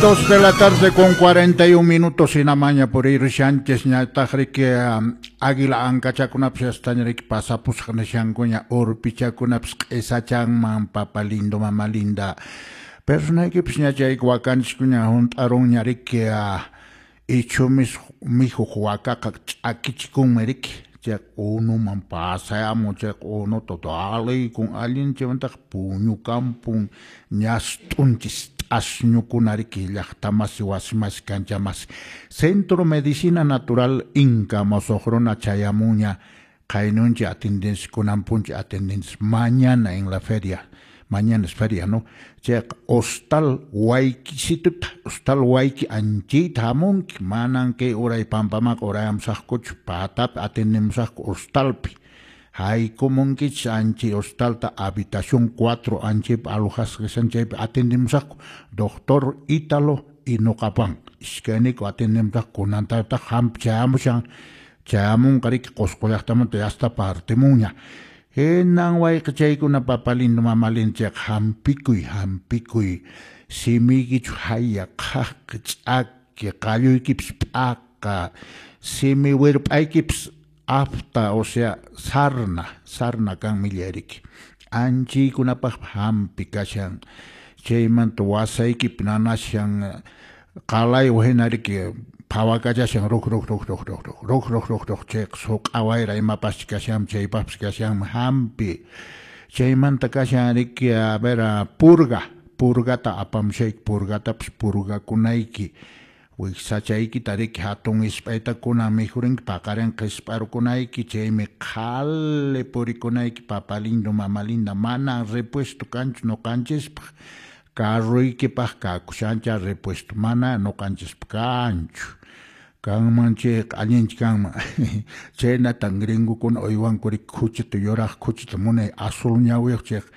2 de la tarde con 41 minutos hinamaña purirushanchis ñataq riki águila ankachakunapis yastaña riki pasapusqa nishankuña urpichakunapis q'isachanman papa lindo mama linda personaykipis ña chayku wakanchikuña hunt'arunña riki ichhu mikhuq wakaqa ch'akichikunmi riki chayqa unuman pasayamun chayqa unuta daliykun allin chaymantaqa puñukampun ñast'unchis asñukuna riki llaqtamasi wasimasi kanchamasi Centro Medicina Natural Inca mosuq runa chayamunña qaynunchik atendenchis kunanpunchik atendenchis mañana en la feria, mañana es feria, ¿no? Chayqa hostal Waykisituta, hostal Wayki anchayta hamunki, manan kay uray pampamaqa urayamusaqkuchu, patapi atendemusaqku hostalpi. Haykumunkichis anchay hostalta habitación 4 anchaypi alojasqa kashan chaypi atendemusaqku doctor Ítalo y nuqapan iskayniyku atendemusaqku kunantataq hampi chayamushan chayamunqa riki Qusqu llaqtamanta yasta partimunña. Hinan wayqichaykuna papa lindo mama lindo chayqa hampikuy hampikuy simiykichu haya qhaqi ch'aki qalluykipis p'aqa simi wirp'aykipis afta, o sea, sarna, sarna kan millay riki. Anchiykunapaqpas hampi kashan, chaymanta wasaykipi nanashan qalaywan hina riki phawakachashan ruk ruk ruk ruk ruk ruk ruk ruk ruk ruk chayqa suq'a wayra imapaschi kashanmi chaypaqpas kashanmi hampi. Chaymanta kashan riki a ver purga, purgata apamushayki purgatapas purgakunayki. Wiksachaykita riki hatun isp'aytakuna mikhurinki paqarinqa qisp'arukunayki chaymi qhali purikunayki papa lindo mama linda mana repuesto kanchu ñuqanchispaq carroykipaq kakushancha repuesto mana ñuqanchispaq kanchu kanman chayqa allinchi kanman chaynatan gringokuna uywanku riki khuchita yuraq khuchita munay azul ñawiyuq chayqa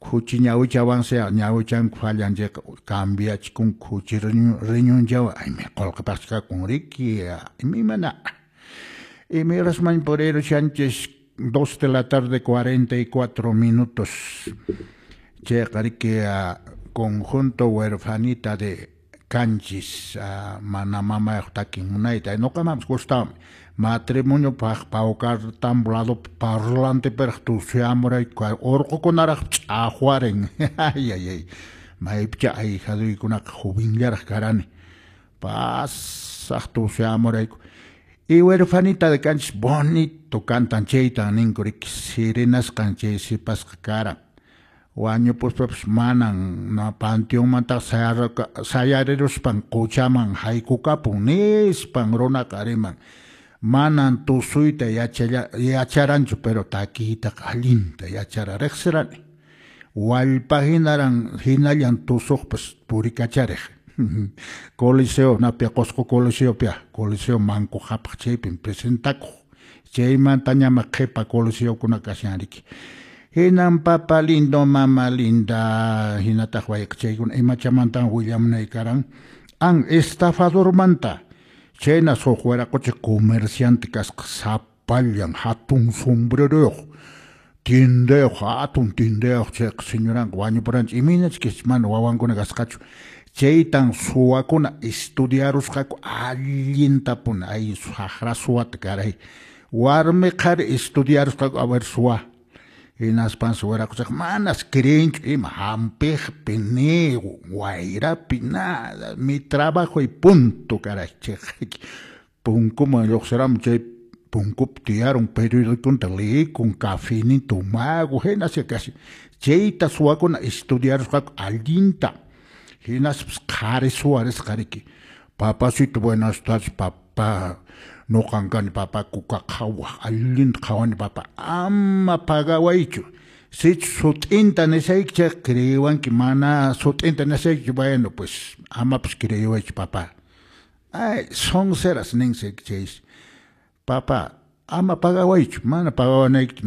khuchi ñawichawansi ñawichanku fallan chayqa cambiachikun khuchi riñunchawan aymi qullqipaqchi kakun riki imaymana imayrasman purirushanchis 2 de la tarde 44 minutos chayqa riki conjunto huerfanita de Canchis mana mamayuq takin munayta ñuqamanpas gustawanmi matrimoniopaq Paucartambo ladopi parlantepiraq tusuyamurayku urqukunaraq ch'aqwarin ay ay ay maypicha ahijaduykunaqa jovenllaraq karani pasaq tusuyamurayku y huerfanita de Canchis bonito cantan chaytan ninku riki serenasqan chay sipasqa karan wañupuspapas manan panteonmantaqa sayariruspan quchaman haykukapun nispan runaqa riman manan tusuyta yacharanchu pero takiytaqa allinta yachara riqsirani wallpa hinaran hinallan tusuqpas purikachariq Coliseo napia Qusqu Coliseopia Coliseo Manco Qhapaq chaypin presentakuq chaymanta ñama qhipa coliseokuna kashan riki hinan papa lindo mama linda hinataq wayqichaykuna imachamantan willamunay karan an estafadormanta chaynas huk wiraqucha comerciante kasqa sapallan hatun sombreroyuq tiendayuq hatun tiendayuq chayqa señoranqa wañupuranchik imaynachus mana wawankuna kasqachu chaytan suwakuna estudiarusqaku allintapuni ay saqra suwata caray warmi qhari estudiarusqaku a ver suwa hinaspansi wiraquchaqa manas creenchu ima hampiqpi ni wayrapi nada mi trabajo y punto caray chayqa punkuman lluqsiramun chay punkupi tiyarun periodiconta leekun cafeninta tomaku hinasya kashan chayta suwakuna estudiarusqaku allinta hinaspas qhari suwa risqa riki papacito buenas tardes papá nuqan kani papa kuka qhawaq allinta qhawani papa ama pagawaychu sichus sut'inta nisayki chayqa creewanki mana sut'inta nisaykichu bueno pues amapas creewaychu papa ay sonceras ninsi chaysi papa ama pagawaychu mana pagawanaykichu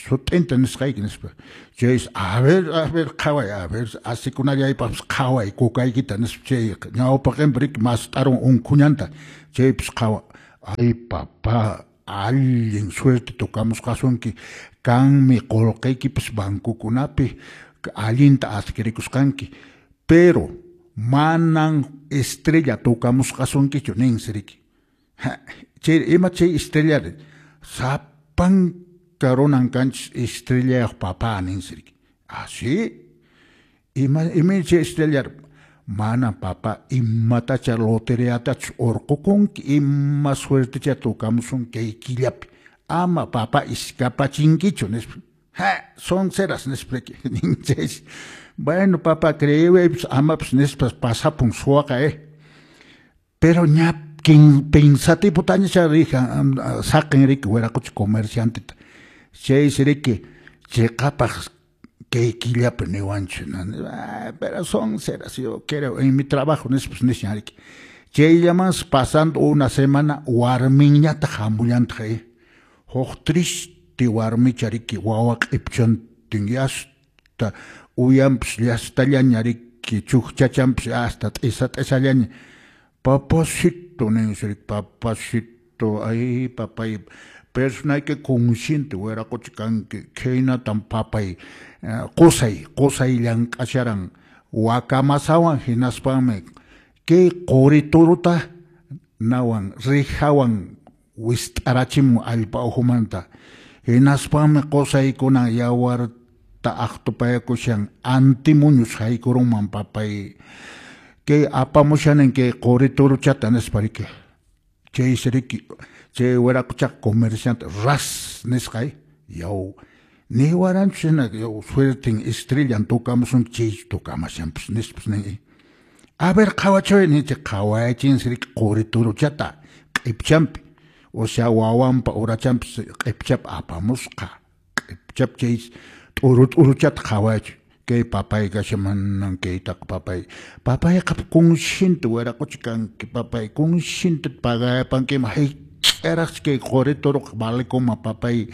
sut'inta nisqayki nispa chaysi a ver qhaway a ver asikunallaypaqpas qhaway kukaykita nispa chay ñawpaqinpi riki mast'arun unkhuñanta chaypis qhawa ay papá allin suerte tocamusqasunki kanmi qullqiykipas bancokunapi allinta adquirikusqanki pero Manan estrella tocamusqasunkichu ninsi riki. Chay ima chay estrella sapanka runan kanchis estrellayuq papá ninsi riki. Ah, sí? Ima chay estrella mana papá imatacha loteriatachu urqukunki ima suertecha tocamusun kay killapi ama papá iskapachinkichu nispa. Ha, son ceras nispa riki. Ninchis. Bueno, papá, creewaypas amapas nispas pasapun suwaqa Pero ña pensativotaña rija saqin riki wiraqucha comercianteta. Chaysi riki chiqapaq kay killapi niwanchu. Pero son ceras, yo quiero en mi trabajo nispas nishan riki. Chayllamansi pasando una semana warminñataq hamullantaq Huk triste warmicha riki wawa q'ipchantin yasta uyanpas llastallaña riki chukchachanpas hasta t'isa t'isallaña. Papacito ninsi riki, papacito, ay papay, personayki consciente wiraqucha kanki, khaynatan papay qusay qusay llank'asharan wakamasawan hinaspanmi kay quri turuta nawan rijawan wist'arachimun allpa ukhumanta hinaspanmi qusaykunan yawarta aqtupayakushan antimuñus haykurunman papay kay apamushanin kay quri turuchata nispa riki. Chaysi riki chay wiraquchaqa comerciante ras nisqay yaw niwaranchus hina yaw suerten estrellan tocamusunki chay tocamashanpas nispas nin. A ver qhawachiway ninchik qhawayachinsi riki quri turuchata q'ipchanpi. O sea wawanpa urachanpas q'ipchap apamusqa q'ipchap chay t'uru t'uruchata qhawayachiy. Kay papay kashan manan kaytaqa papay papayqa consciente wiraqucha kanki papay consciente pagayapankiman hayk'araqchu kay quri turuqa valekunman papay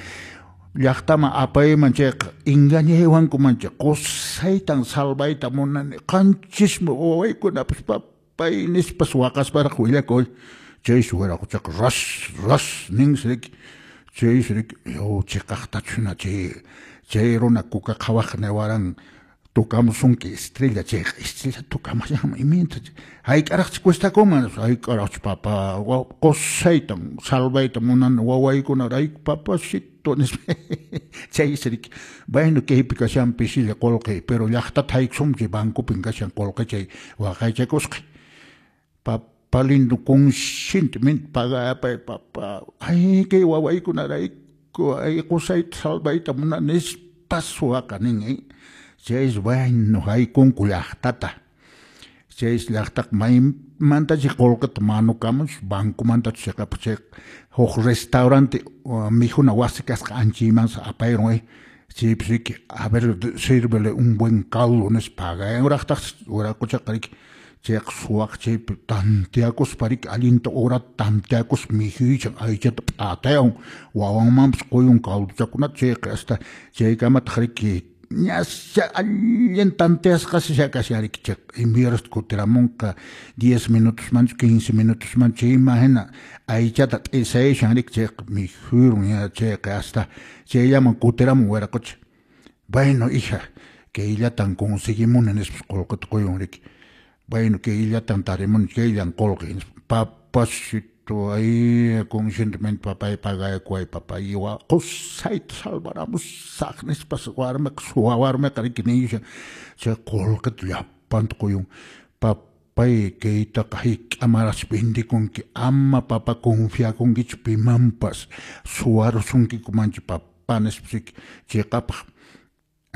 llaqtaman apayman chayqa engañaywankuman chay qusaytan salvayta munani qanchismi wawaykunapas papay nispas waqasparaq willakuy. Chaysi wiraquchaqa ras ras ninsi riki. Chaysi riki yaw chiqaqtachu hina chay chay runa kuka qhawaq niwaran tocamusunki estrella chayqa estrella tocamashanman imayna hayk'araqchu cuestakunman hayk'araqchu papa qusaytan salvayta munani wawaykunarayku papacito nispa. Chaysi riki bueno kaypi kashan pisilla qullqi pero llaqtata haykusunki chay bancopin kashan qullqi chay waqaychakusqay. Papa lindo conscientemente pagapay papa ay kay wawaykunarayku ay qusayta salvayta munani nispas suwaqa nin. Chaysi bueno haykunku llaqtata. Chaysi llaqtaqa maymantachi qullqita manukamunchu bancomantachu chiqapaq chay huk restaurante mikhuna wasi kasqa anchaymansi apayrun chaypis riki a ver sírvele un buen caldo nispa pagayanraqtaqsi wiraquchaqa riki chayqa suwaqa chaypi tanteakuspa riki allinta horata tanteakuspa mikhuychan aychata p'atayan wawanmanpas quyun caldochakunata chayqa hasta chaykamataq riki ñasha allin tanteasqasi kashan riki chay imierasta kutiramunqa 10 minutosmanchu 15 minutosmanchu chayman hina aychata t'isayashan riki chayqa mikhurun ña chayqa hasta chayllaman kutiramun wiraqucha. Bueno hija kayllatan conseguimuni nispas qullqita quyun riki. Bueno kayllatan tarimuni kayllan qullqi nispa papacito ay conscientemente papay pagayakuway papay qusayta salvaramusaq nispas warmiqa suwa warmiqa riki niyushan chay qullqita llapanta quyun papay kaytaqa hayk'amaraqchu vendekunki ama papa confiakunkichu pimanpas suwarusunkikumanchu papa nispas riki chiqapaq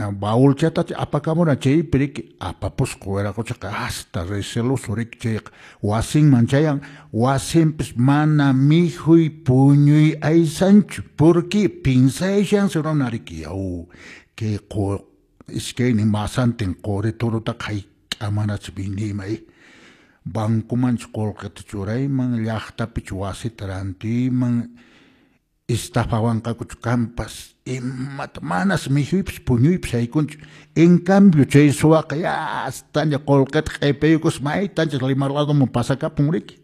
baulchatacha apakamuran chaypi riki apapusqa wiraquchaqa hasta receloso riki chayqa wasinman chayan wasinpis mana mikhuy puñuy aysanchu porque pinsayashansi runa riki yaw kay iskaynin masantin quri turutaqa hayk'amanachu vendiyman bancomanchu qullqita churayman llaqtapichu wasita rantiyman estafawanqakuchu kanpas imata manas mikhuypas puñuypas haykunchu. En cambio chay suwaqa yastaña qullqita q'ipaykus maytanchis Lima ladoman pasakapun riki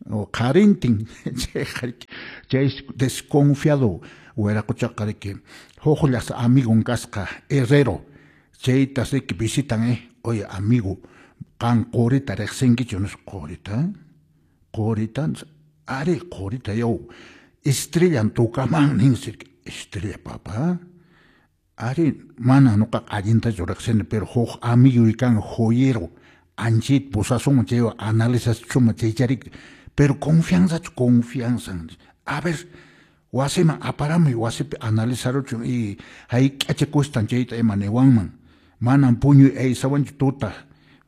o qharintin chayqa riki chay desconfiado wiraquchaqa riki huqllas amigon kasqa herrero chaytas riki visitan oye amigo Qan qurita riqsinkichu nispa, qurita? Qurita? Ari, qurita yaw, estrellan tukaman ninsi, estrella papá? Ari, mana nuqaqa allintachu riqsini, pero huk amiguy kan joyero, anchit pusasunman chaywan analizachuma chaycharik, pero confianzachu confianza. A ver, wasiman aparamuy, wasipi analizaruchun y hayk'acha cuestan chayta ima niwanman. Manan puñuy aysawanchu tuta,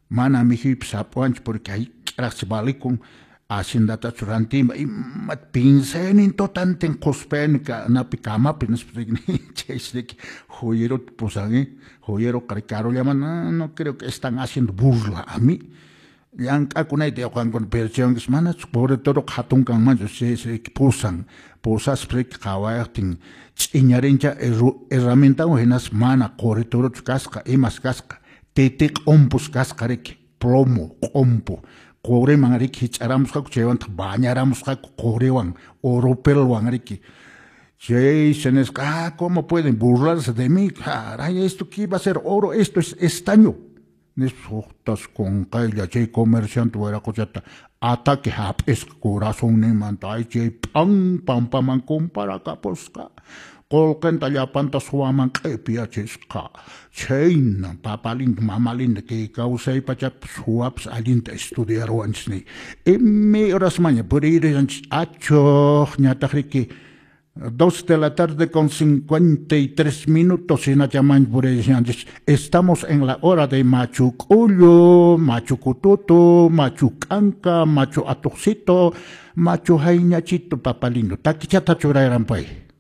mana mikhuypas hap'uwanchu porque hayk'araqchi valikun, haciendatachu rantiyman, ima pinsaynin tutantin qhuspayni napi kamapi nispa chaysi riki joyerota pusan, joyeroqa karullaman, no creo que están haciendo burla a mí. Llank'akunayta yawqankuna pero chaywanpas manachu quri turuqa hatun kanmanchu chaysi riki pusan, pusaspa riki qhawayaqtin ch'iñarincha herramientawan hinaspa mana quri turuchu kasqa, imas kasqa, titi q'umpus kasqa riki, plomo, q'umpu, quriman riki hich'aramusqaku chaywantaq bañaramusqaku quriwan, oropelwan riki. Chaysi nisqa, ah, ¿cómo pueden burlarse de mí? Caray, esto qué iba a ser oro, esto es estaño. Nispa huqtas qunqaylla chay comerciante wiraquchata ataque hap'isqa corazonninmanta, ay chay p'an pampaman kumparakapusqa, qullqinta llapanta suwaman q'ipiyachisqa. Chhayna papa lindo, mama linda kay kawsay pachapi suwapas allinta estudiaruwanchis niy. Imay horasmanña puririshanchis achuq ñataq riki 2 de la tarde con 53 minutos hinachaman puririshanchis. Estamos en la hora de Machu K'ullu, Machu Kututu, Machu K'anka, Machu Atuqcito, Machu Hayñachito, papa lindo. Takichata churayranpay.